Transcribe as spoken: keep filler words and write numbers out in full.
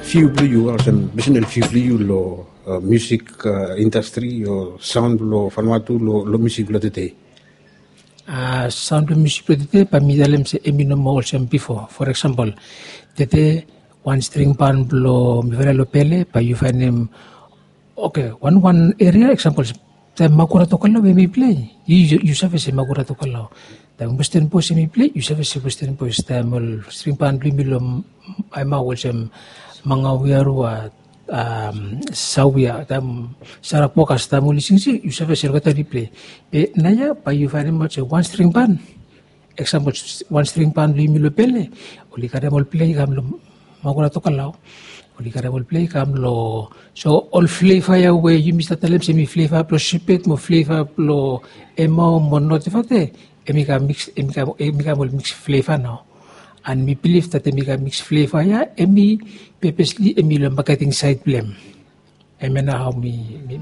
View blong yu olsem personal view blong yu long musik indastri o saun blong Vanuatu long musik blong tede? Saun blong musik blong tede bae mi talem se em i no moa olsem bifo. For eksempel, tede wan string ban blong mi fala long pele bae yu fainim, oke, wan wan eria eksempel, taem Makura Tokelau em i pilei, yu save se Makura Tokelau. Taem Western Boys em i pilei, yu save se Western Boys. Taem ol string ban blong yumi long Aemau olsem Mangawiarua, Sawia, taem Sarapokas, taem oli singsing yu save se olgeta oli pilei. Be naoia bae yu fainim aot se wan string ban, eksempel, wan string ban blong yumi long pele, oli karem ol pilei i kam long Makura Tokelau, oli karem ol pilei i kam long, so ol fleva ya we yumi save talem se em i fleva blong Sepet mo fleva blong Aemau mo Notevate, em i kam miks, em i kam ol miks fleva nao. And mi bilif dat em i kam miks fleva ya em i pepesli em i long maketing saed blong em. Hemia nao hao mi